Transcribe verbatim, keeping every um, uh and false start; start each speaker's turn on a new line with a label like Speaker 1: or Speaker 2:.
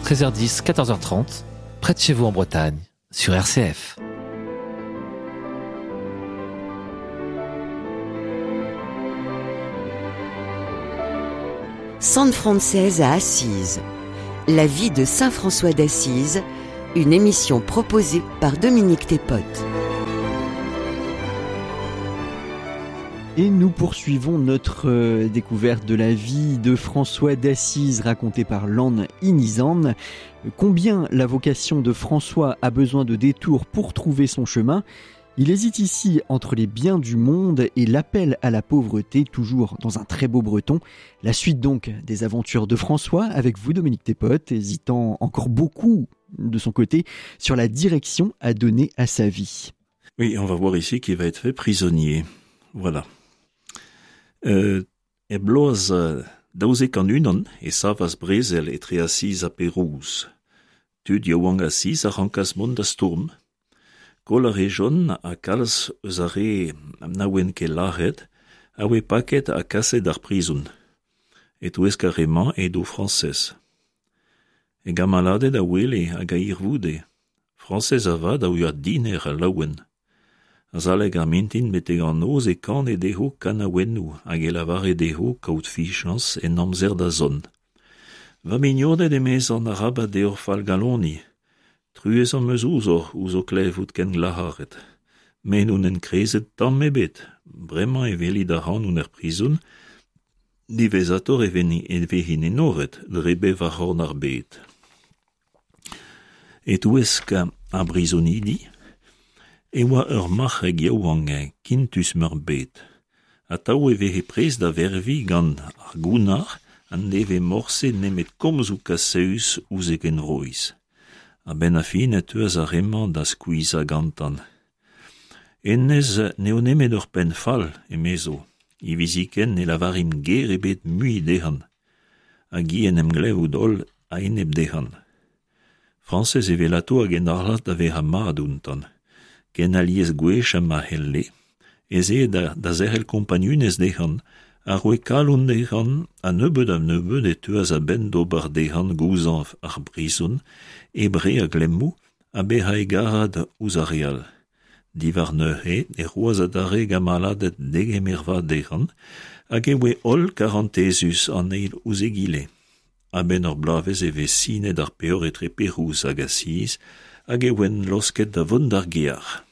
Speaker 1: treize heures dix, quatorze heures trente, près de chez vous en Bretagne, sur R C F.
Speaker 2: Sant Frañsez à Assise. La vie de Saint François d'Assise, une émission proposée par Dominique Thépote.
Speaker 3: Et nous poursuivons notre, euh, découverte de la vie de François d'Assise racontée par Lan Inizan. Combien la vocation de François a besoin de détours pour trouver son chemin ? Il hésite ici entre les biens du monde et l'appel à la pauvreté, toujours dans un très beau breton. La suite donc des aventures de François avec vous, Dominique Thépote, hésitant encore beaucoup de son côté sur la direction à donner à sa vie.
Speaker 4: Oui, on va voir ici qu'il va être fait prisonnier. Voilà. Euh, e bloaz, euh, daouzek an unan e savas brezel etre Asiz ha Perouz. Tud yaouank Asiz a rankas mont da stourm. Koll a rejont ha kalz eus ar re na oent ket lâret, a oe paket ha kaset d'ar prizon. E-touesk ar re-mañ edo Frañsez. E gamaladed a wele hag a hirvoude. Frañsez avat a oa diner a laouen. Azalek ar mintin betek an noz e kane dezho kanaouennoù hag e lavare dezho kaout fichañs en amzer da zont. Va mignoned emez an arabat deoc'h fallgaloni. Truez am eus ouzhoc'h ouzh ho klevout ken glac'haret. Me n'on enkrezet tamm ebet. Bremañ e welit ac'hanon er prizon, diwezhatoc'h e veni-, e vezin enoret dre bevar c'horn ar bed. E-touesk ar brizonidi, e oa ur marc'heg yaouank kintus meurbet. Atav e veze prest da vervi gant ar gounnar an deve morse nemet komzoù kaseüs ouzh e genvroiz. A-benn ar fin e teuas ar re-mañ da skuizhañ gantan. Hennezh n'eo nemet ur penn fall, emezo. Hiviziken ne lavarimp ger ebet mui dezhan. Hag hi en em glevout holl a-enep dezhan. Frañsez evelato hag en arlad da vezañ mat ountan. Ken alies gwech ha ma c'helle, ez eo da, da zerc'hel kompagnunez dezhan, a roe kalon dezhan, ha nebeut ha nebeut e teuas a-benn d'ober dezhan gouzañv ar brizon, ebre a glemmoù, ha bezañ egarad ouzh ar re all. Diwar neuze e roas adarre gamaladed degemer vat dezhan, hag e oe holl karantezus an eil ouzh egile. A-benn ur bloavezh e vez sinet ar peoc'h etre Perouz hag Asiz, hag e oent losket da vont d'ar gear.